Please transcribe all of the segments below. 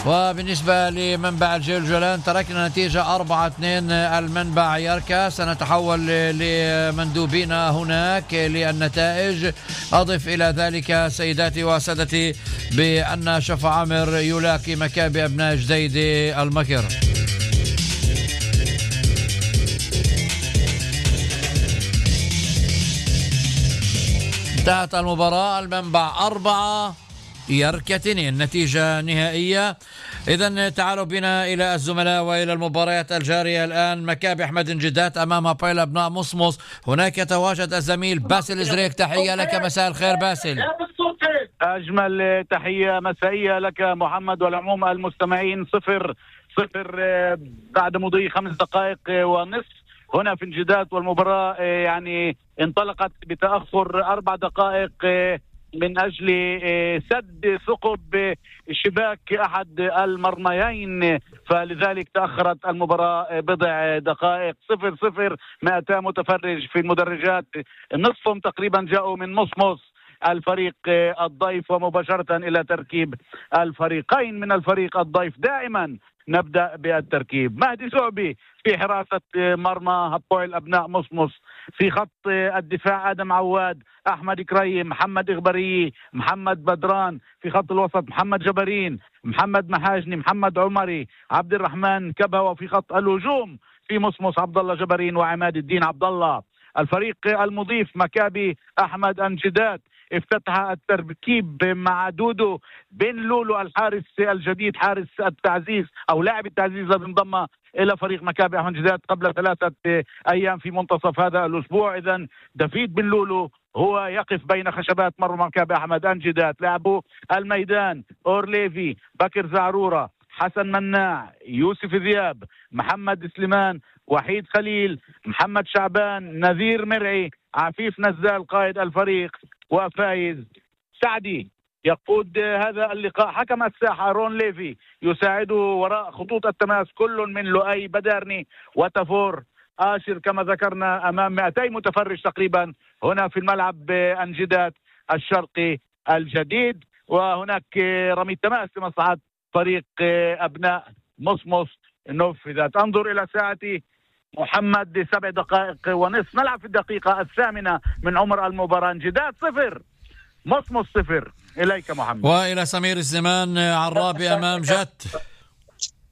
وبالنسبة لمنبع الجولان تركنا نتيجة 4-2 المنبع يركا. سنتحول لمندوبينا هناك للنتائج. أضف إلى ذلك سيداتي وسادتي بأن شفا عامر يلاقي مكابي أبناء جديدة المكر. انتهت المباراة، المنبع 4 يركا 2 نتيجة نهائية. إذن تعالوا بنا إلى الزملاء وإلى المباريات الجارية الآن. مكابي أحمد انجدات أمام هابويل أبناء مصمص. هناك يتواجد الزميل باسل إزريك. تحية لك، مساء الخير باسل. أجمل تحية مسائية لك محمد والعموم المستمعين. 0-0 بعد مضي 5 دقائق ونصف هنا في انجدات، والمباراة يعني انطلقت بتأخر 4 دقائق من أجل سد ثقب شباك أحد المرميين، فلذلك تأخرت المباراة بضع دقائق. 0-0 200 متفرج في المدرجات، نصفهم تقريبا جاءوا من مصمص الفريق الضيف، ومباشرة إلى تركيب الفريقين من الفريق الضيف. دائما نبدأ بالتركيب. مهدي زعبي في حراسة مرمى هابويل أبناء مصمص. في خط الدفاع آدم عواد، أحمد كريم، محمد إغبري، محمد بدران. في خط الوسط محمد جبرين، محمد محاجني، محمد عمري، عبد الرحمن كبه. وفي خط الهجوم في مصمص عبد الله جبرين وعماد الدين عبد الله. الفريق المضيف مكابي أحمد انجدات افتتح التركيب مع دودو بن لولو الحارس الجديد، حارس التعزيز أو لاعب التعزيز الذي انضم إلى فريق مكابي أحمد انجدات قبل 3 أيام في منتصف هذا الأسبوع. إذن دافيد بن لولو هو يقف بين خشبات مرمى مكابي أحمد انجدات. لاعبو الميدان أورليفي، بكر زعرورة، حسن مناع، يوسف ذياب، محمد سليمان، وحيد خليل، محمد شعبان، نذير مرعي، عفيف نزال قائد الفريق، وفايز سعدي يقود هذا اللقاء. حكم الساحة رون ليفي يساعده وراء خطوط التماس كل من لؤي بدارني وتفور آشر كما ذكرنا، أمام 200 متفرج تقريبا هنا في الملعب انجدات الشرقي الجديد. وهناك رمي التماس لمصلحة فريق أبناء مصمص نفذت. أنظر إلى ساعتي محمد، 7 دقائق ونصف، نلعب في الدقيقة 8 من عمر المباراة. انجدات 0 مصمص 0. إليك محمد. وإلى سمير الزمان عرابي أمام جت.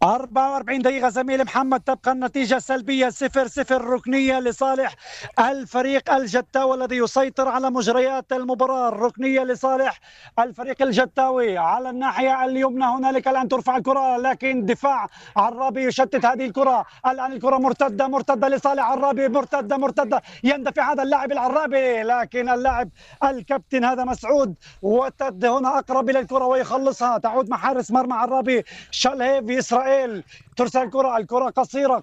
44 دقيقة زميل محمد، تبقى النتيجة سلبية 0-0 ركنية لصالح الفريق الجتاوي الذي يسيطر على مجريات المباراة. الركنية لصالح الفريق الجتاوي. على الناحية اليمنى هنالك الآن ترفع الكرة، لكن دفاع عرابي يشتت هذه الكرة. الآن الكرة مرتدة لصالح عرابي، مرتدة يندفع هذا اللاعب العرابي، لكن اللاعب الكابتن هذا مسعود وتد هنا أقرب إلى الكرة ويخلصها. تعود مع حارس مرمى عرابي شالهيف إسرائيل. ترسل الكرة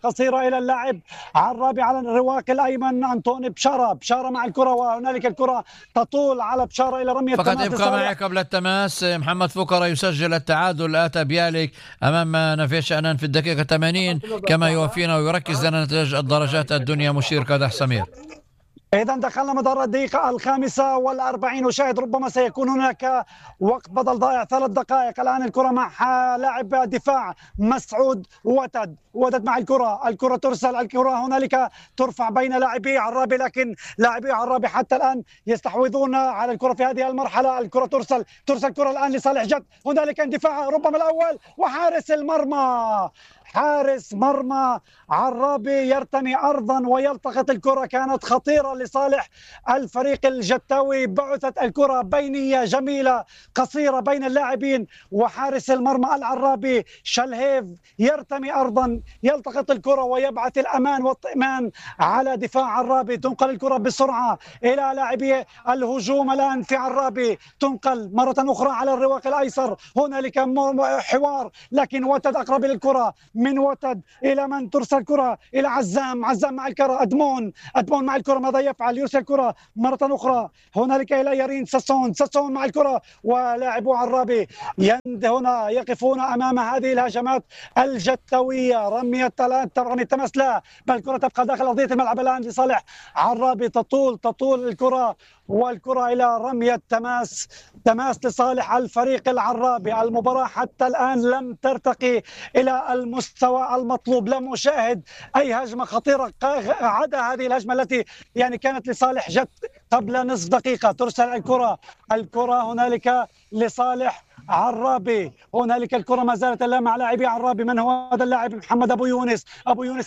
قصيرة إلى اللاعب عرابي على الرواق الأيمن أنطوني بشارة مع الكرة، وهنالك الكرة تطول على بشارة إلى رمية فقط ابقى معي قبل التماس. محمد فقرة يسجل التعادل. آتا بيالك أمام نافيش أنان في الدقيقة 80 كما يوفينا ويركز لنا نتائج الدرجات الدنيا مشير كادح سمير. إذا دخلنا مدار الدقيقة 45 وشاهد ربما سيكون هناك وقت بدل ضائع 3 دقائق. الآن الكرة مع لاعب دفاع مسعود وتد مع الكرة ترسل. الكرة هنالك ترفع بين لاعبي عرابي، لكن لاعبي عرابي حتى الآن يستحوذون على الكرة في هذه المرحلة. الكرة ترسل الكرة الآن لصالح جد. هنالك اندفاع ربما الأول، وحارس المرمى حارس مرمى عرابي يرتمي أرضا ويلتقط الكرة. كانت خطيرة لصالح الفريق الجتاوي. بعثت الكرة بينية جميلة قصيرة بين اللاعبين، وحارس المرمى العرابي شالهيف يرتمي أرضا يلتقط الكرة ويبعث الأمان والطئمان على دفاع عرابي. تنقل الكرة بسرعة إلى لاعبي الهجوم الآن في عرابي، تنقل مرة أخرى على الرواق الأيسر. هنالك حوار، لكن وتد أقرب للكرة. من وتد إلى من ترسل الكرة إلى عزام مع الكرة. أدمون مع الكرة ماذا يفعل؟ يرسل الكرة مرة أخرى هنالك إلى يارين ساسون مع الكرة، ولاعبو عرابي هنا يقفون أمام هذه الهجمات الجتوية. رمي التماس لا، بل الكرة تبقى داخل أرضية الملعب الآن لصالح عرابي. تطول الكرة والكرة إلى رمية تماس لصالح الفريق العرابي. المباراة حتى الآن لم ترتقي إلى المستوى المطلوب، لم أشاهد أي هجمة خطيرة عدا هذه الهجمة التي يعني كانت لصالح جت قبل نصف دقيقة. ترسل الكرة هنالك لصالح عرابي، هنالك الكرة ما زالت مع لاعبي عرابي. من هو هذا اللاعب؟ محمد أبو يونس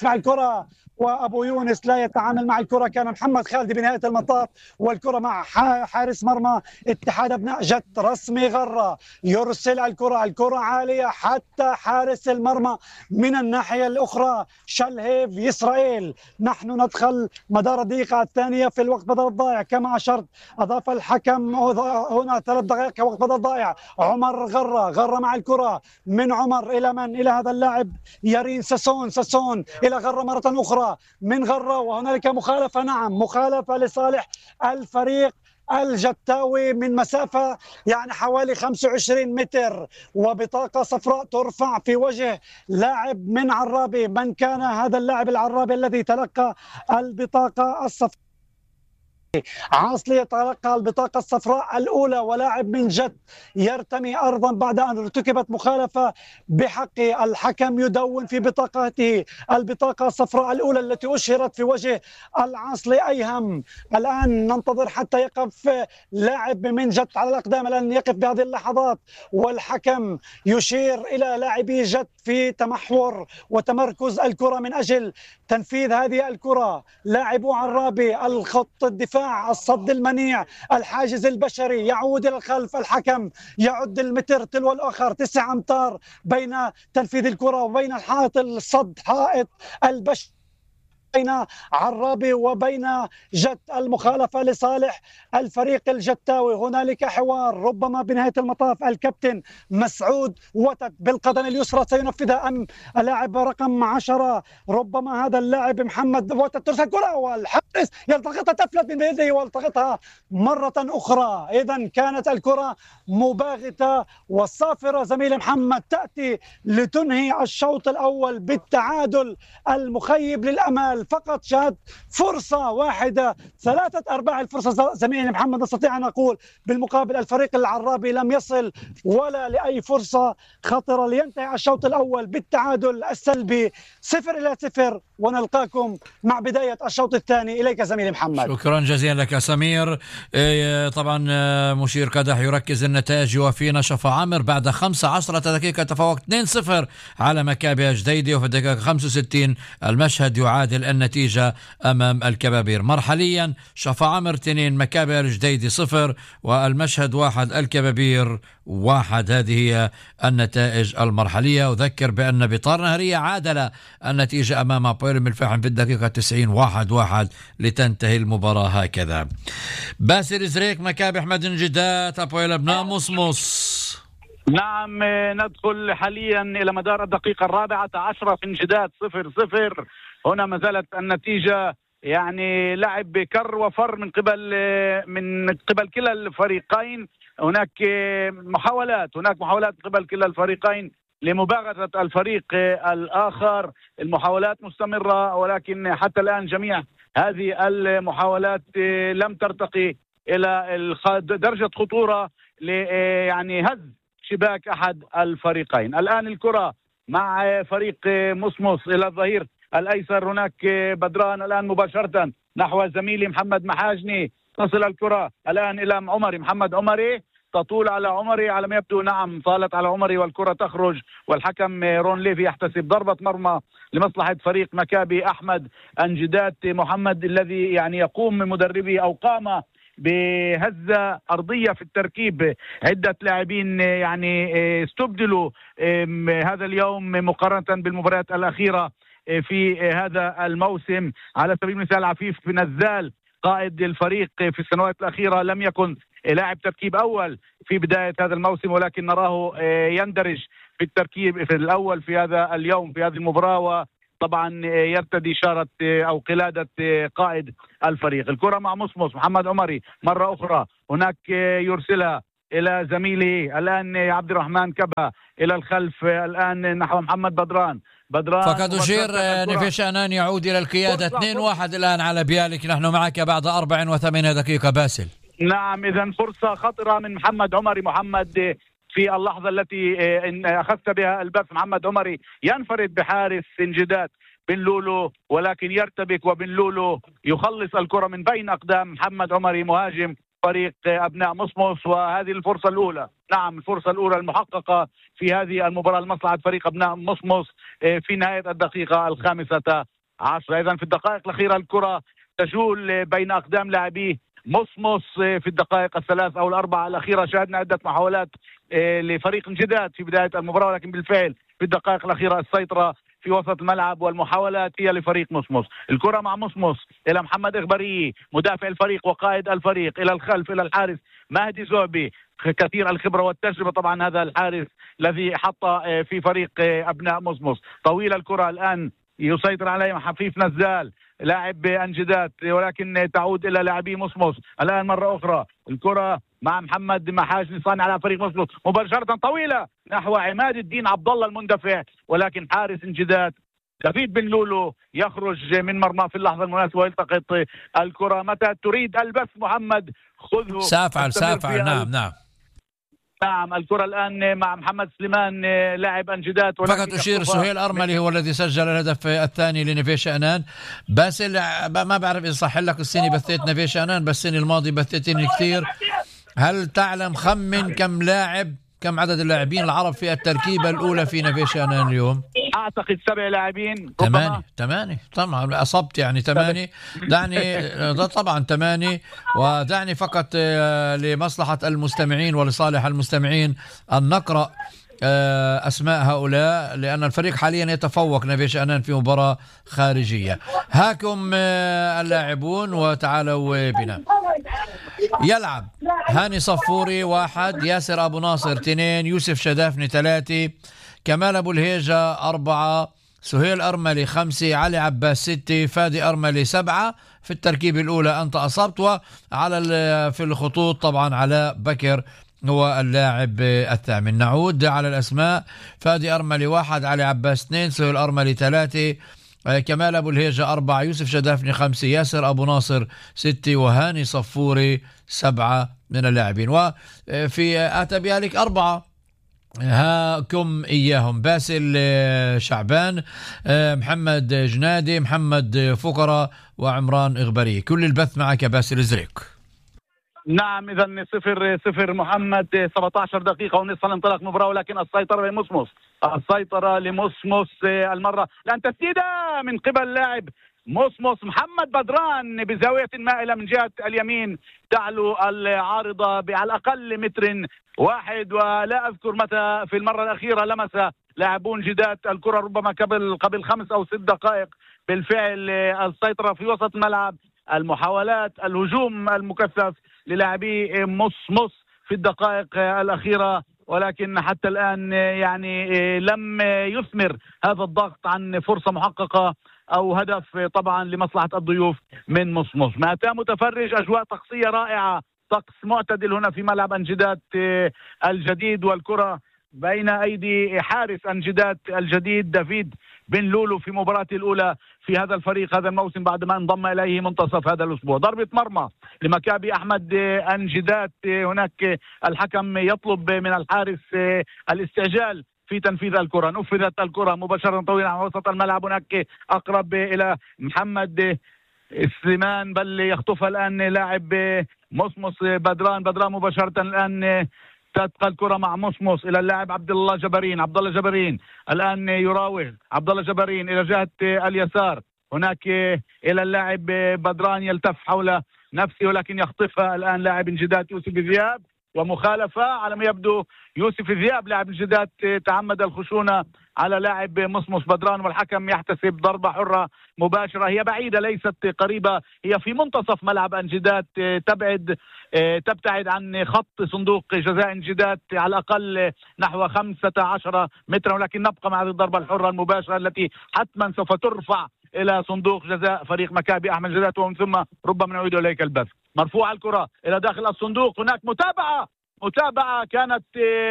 مع الكرة، وأبو يونس لا يتعامل مع الكرة. كان محمد خالد بنهاية المطاف، والكرة مع حارس مرمى اتحاد أبناء جت رسمي غرة. يرسل الكرة عالية حتى حارس المرمى من الناحية الأخرى شلهيف يسرائيل. نحن ندخل مدار الدقيقة الثانية في الوقت بدل الضائع كما أشرت. أضاف الحكم هنا 3 دقائق وقت بدل ضائع. عمر غرة مع الكرة، من عمر إلى من؟ إلى هذا اللاعب يارين ساسون إلى غرة مرة أخرى من غرة، وهنالك مخالفة. نعم، مخالفة لصالح الفريق الجتاوي من مسافة يعني حوالي 25 متر، وبطاقة صفراء ترفع في وجه لاعب من عرابي. من كان هذا اللاعب العرابي الذي تلقى البطاقة الصفراء؟ عاصلي يتلقى البطاقة الصفراء الأولى، ولاعب من جد يرتمي أرضا بعد أن ارتكبت مخالفة بحقه. الحكم يدون في بطاقته البطاقة الصفراء الأولى التي أشهرت في وجه العاصلي أيهم. الآن ننتظر حتى يقف لاعب من جد على الأقدام، الآن يقف بهذه اللحظات، والحكم يشير إلى لاعبي جد في تمحور وتمركز الكرة من أجل تنفيذ هذه الكرة. لاعبو عرابي الخط الدفاع، الصد المنيع، الحاجز البشري يعود إلى الخلف. الحكم يعد المتر تلو الآخر 9 أمتار بين تنفيذ الكرة وبين الحائط الصد، حائط البشري بين عرابي وبين جت. المخالفة لصالح الفريق الجتاوي. هنالك حوار، ربما بنهاية المطاف الكابتن مسعود وتد بالقدم اليسرى سينفذها أم اللاعب رقم 10 ربما هذا اللاعب محمد وتد. ترسل كرة والحارس يلتقطها، تفلت من يده والتقطها مرة أخرى. إذن كانت الكرة مباغتة وصافرة زميل محمد، تأتي لتنهي الشوط الأول بالتعادل المخيب للأمال. فقط شهد فرصة واحدة، 3/4 الفرصة زميلي محمد نستطيع أن نقول. بالمقابل الفريق العرابي لم يصل ولا لأي فرصة خطرة لينتهي الشوط الأول بالتعادل السلبي 0-0. ونلقاكم مع بداية الشوط الثاني. إليك زميلي محمد. شكرا جزيلا لك سمير. طبعا مشير قدح يركز النتائج يوفينا شفا عامر بعد 15 دقيقة تفوق 2-0 على مكابي جديدة، وفي الدقيقة 65 المشهد يعادل النتيجة أمام الكبابير. مرحليا شفا عامر 2 مكابي الجديدة 0 والمشهد 1 الكبابير 1. هذه هي النتائج المرحلية. أذكر بأن بطار نهرية عادل النتيجة أمام بويرم الفحم في الدقيقة 90 1-1 لتنتهي المباراة هكذا. باسل زريك مكابي أحمد جدات أبويل أبناء مصمص. نعم، ندخل حاليا إلى مدار الدقيقة 14 في انجداد 0-0. هنا ما زالت النتيجة يعني لعب بكر وفر من قبل كلا الفريقين. هناك محاولات من قبل كلا الفريقين لمباغتة الفريق الآخر. المحاولات مستمرة، ولكن حتى الآن جميع هذه المحاولات لم ترتقي إلى درجة خطورة يعني هز شباك أحد الفريقين. الآن الكرة مع فريق مصمص إلى الظهير الأيسر. هناك بدران الآن مباشرة نحو زميلي محمد محاجني. تصل الكرة الآن إلى محمد عمري، تطول على عمري على ما يبدو. نعم، طالت على عمري والكرة تخرج، والحكم رون ليفي يحتسب ضربة مرمى لمصلحة فريق مكابي أحمد انجدات محمد، الذي يعني يقوم من مدربي أو قام بهزة أرضية في التركيب. عدة لاعبين يعني استبدلوا هذا اليوم مقارنة بالمباريات الأخيرة في هذا الموسم. على سبيل المثال عفيف بن نزال قائد الفريق في السنوات الأخيرة لم يكن لاعب تركيب أول في بداية هذا الموسم، ولكن نراه يندرج في التركيب في الأول في هذا اليوم في هذه المباراة، وطبعا يرتدي إشارة أو قلادة قائد الفريق. الكرة مع مصمص محمد عمري مرة أخرى، هناك يرسلها إلى زميله الآن عبد الرحمن كبا إلى الخلف الآن نحو محمد بدران. فقد أشير نفيش أنان يعود إلى القيادة 2-1 الآن على بيالك. نحن معك بعد 84 دقيقة باسل. نعم، إذا فرصة خطرة من محمد عمري. محمد في اللحظة التي أخذت بها البث، محمد عمري ينفرد بحارس انجداد بن لولو، ولكن يرتبك وبن لولو يخلص الكرة من بين أقدام محمد عمري مهاجم فريق أبناء مصمص. وهذه الفرصة الأولى، نعم الفرصة الأولى المحققة في هذه المباراة لمصلحة فريق أبناء مصمص في نهاية الدقيقة 15. إذن في الدقائق الأخيرة الكرة تجول بين أقدام لاعبيه مصمص. في الدقائق 3 أو 4 الأخيرة شاهدنا عدة محاولات لفريق انجداد في بداية المباراة، ولكن بالفعل في الدقائق الأخيرة السيطرة في وسط الملعب والمحاولات هي لفريق مصمص. الكرة مع مصمص إلى محمد إغبري مدافع الفريق وقائد الفريق، إلى الخلف إلى الحارس مهدي زعبي كثير الخبرة والتجربة، طبعا هذا الحارس الذي حط في فريق أبناء مصمص. طويلة الكرة الآن يسيطر عليها حفيف نزال لاعب انجداد، ولكن تعود الى لاعبي مصمص. الان مره اخرى الكره مع محمد محاجني صانع على فريق مصمص مباشره طويله نحو عماد الدين عبد الله المندفع، ولكن حارس انجداد دافيد بن لولو يخرج من مرمى في اللحظه المناسبه ويلتقط الكره. متى تريد البث محمد خذه. سافعل. نعم الكرة الآن مع محمد سليمان لاعب انجداد. فقط أشير سهيل أرملي هو الذي سجل الهدف الثاني لنيفي شأنان. بس ما بعرف إذا صح لك السنة بثيت نيفي شأنان، بس السنة الماضية بثيتني كثير. هل تعلم خمن كم عدد اللاعبين العرب في التركيبة الأولى في نيفي شأنان اليوم؟ أعتقد 7 لاعبين. 8 طبعا أصبت يعني 8. دعني ده طبعا 8. ودعني فقط لمصلحة المستمعين ولصالح المستمعين أن نقرأ أسماء هؤلاء، لأن الفريق حاليا يتفوق نيفي شأنان في مباراة خارجية. هاكم اللاعبون وتعالوا بنا. يلعب هاني صفوري 1، ياسر أبو ناصر 2، يوسف شدافني 3، كمال أبو الهيجة 4، سهيل أرملي 5، علي عباس 6، فادي أرملي 7. في التركيب الأولى أنت أصبت. وعلى في الخطوط طبعا علاء بكر هو اللاعب الثامن. نعود على الأسماء: فادي أرملي 1، علي عباس 2، سهيل أرملي 3، كمال أبو الهيجة 4، يوسف شدافني 5، ياسر أبو ناصر 6، وهاني صفوري 7 من اللاعبين. وفي أتبيالك 4 هاكم إياهم: باسل شعبان، محمد جنادي، محمد فقرة، وعمران إغبري. كل البث معك باسل زريك. نعم إذا 0-0 محمد. 17 دقيقة ونصف الانطلاق مباراة، ولكن السيطرة لمصمص المرة. الآن تسديدة من قبل لاعب مصمص محمد بدران بزاوية مائلة من جهة اليمين تعلو العارضة على الأقل 1 واحد، ولا أذكر متى في المرة الأخيرة لمس لاعبون جداد الكرة، ربما قبل 5 أو 6 دقائق. بالفعل السيطرة في وسط الملعب، المحاولات الهجوم المكثف للاعبي مصمص في الدقائق الأخيرة، ولكن حتى الآن يعني لم يثمر هذا الضغط عن فرصة محققة أو هدف طبعا لمصلحة الضيوف من مصمص. 200 متفرج، أجواء طقسية رائعة، طقس معتدل هنا في ملعب انجداد الجديد، والكرة بين أيدي حارس انجداد الجديد دافيد بن لولو في مباراته الأولى في هذا الفريق هذا الموسم بعد ما انضم إليه منتصف هذا الأسبوع. ضربة مرمى لمكابي أحمد انجداد. هناك الحكم يطلب من الحارس الاستعجال في تنفيذ الكرة. نفذت الكرة مباشرة طويلة على وسط الملعب، هناك أقرب إلى محمد سليمان، بل يخطفها الآن لاعب مصمص بدران مباشرة. الآن تبقى الكرة مع مصمص إلى اللاعب عبد الله جبرين الآن يراوغ عبد الله جبرين إلى جهة اليسار، هناك إلى اللاعب بدران يلتف حول نفسه، ولكن يخطفها الآن لاعب انجداد يوسف ذياب، ومخالفة على ما يبدو. يوسف ذياب لاعب انجداد تعمد الخشونة على لاعب مصمص بدران، والحكم يحتسب ضربة حرة مباشرة. هي بعيدة ليست قريبة، هي في منتصف ملعب انجداد، تبتعد عن خط صندوق جزاء انجداد على الأقل نحو 15 مترا، ولكن نبقى مع هذه الضربة الحرة المباشرة التي حتما سوف ترفع إلى صندوق جزاء فريق مكابي أحمد جدات، ومن ثم ربما نعيد إليك البث. مرفوعة الكرة إلى داخل الصندوق، هناك متابعة كانت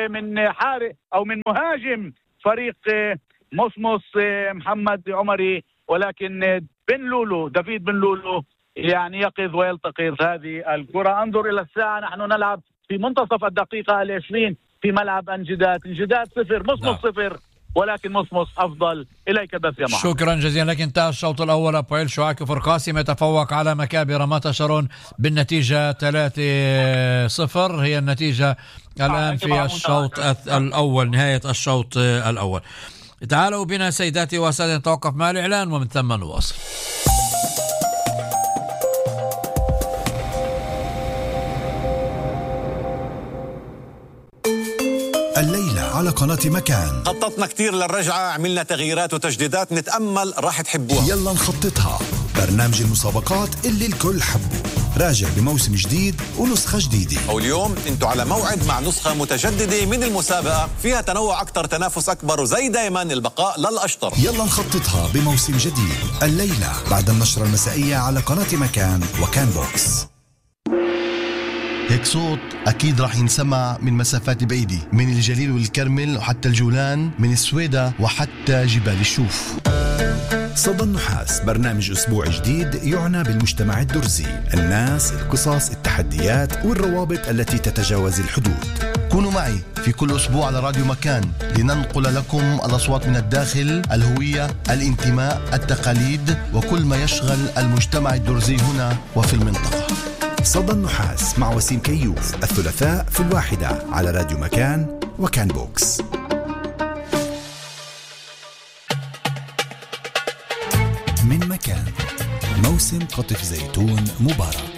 من حارس أو من مهاجم فريق مصمص محمد عمري، ولكن دافيد بن لولو يعني يقظ ويلتقط هذه الكرة. انظر إلى الساعة، نحن نلعب في منتصف الدقيقة 20 في ملعب انجداد 0 مصمص 0، ولكن مصمص أفضل. إليك بس يا محمد. شكرا جزيلا لك. انتهى الشوط الأول. أبويل شعاك فرقاسم يتفوق على مكابي رمات شارون بالنتيجة 3-0. هي النتيجة الآن في الشوط الأول، نهاية الشوط الأول. تعالوا بنا سيداتي وسادتي نتوقف مع الإعلان ومن ثم نواصل. الليلة على قناة مكان خططنا كتير للرجعة، عملنا تغييرات وتجديدات، نتأمل راح تحبوها. يلا نخططها، برنامج المسابقات اللي الكل حبه، راجع بموسم جديد ونسخة جديدة. واليوم انتوا على موعد مع نسخة متجددة من المسابقة، فيها تنوع أكتر، تنافس أكبر، وزي دايما البقاء للأشطر. يلا نخططها بموسم جديد الليلة بعد النشرة المسائية على قناة مكان وكان بوكس. هيك صوت أكيد راح ينسمع من مسافات بعيدة، من الجليل والكرمل وحتى الجولان، من السويدة وحتى جبال الشوف. صدى النحاس، برنامج أسبوع جديد يعنى بالمجتمع الدرزي، الناس، القصص، التحديات والروابط التي تتجاوز الحدود. كونوا معي في كل أسبوع على راديو مكان لننقل لكم الأصوات من الداخل، الهوية، الانتماء، التقاليد وكل ما يشغل المجتمع الدرزي هنا وفي المنطقة. صدى النحاس مع وسيم كيوف، الثلاثاء في 1 على راديو مكان وكان بوكس. من مكان، موسم قطف زيتون مبارك.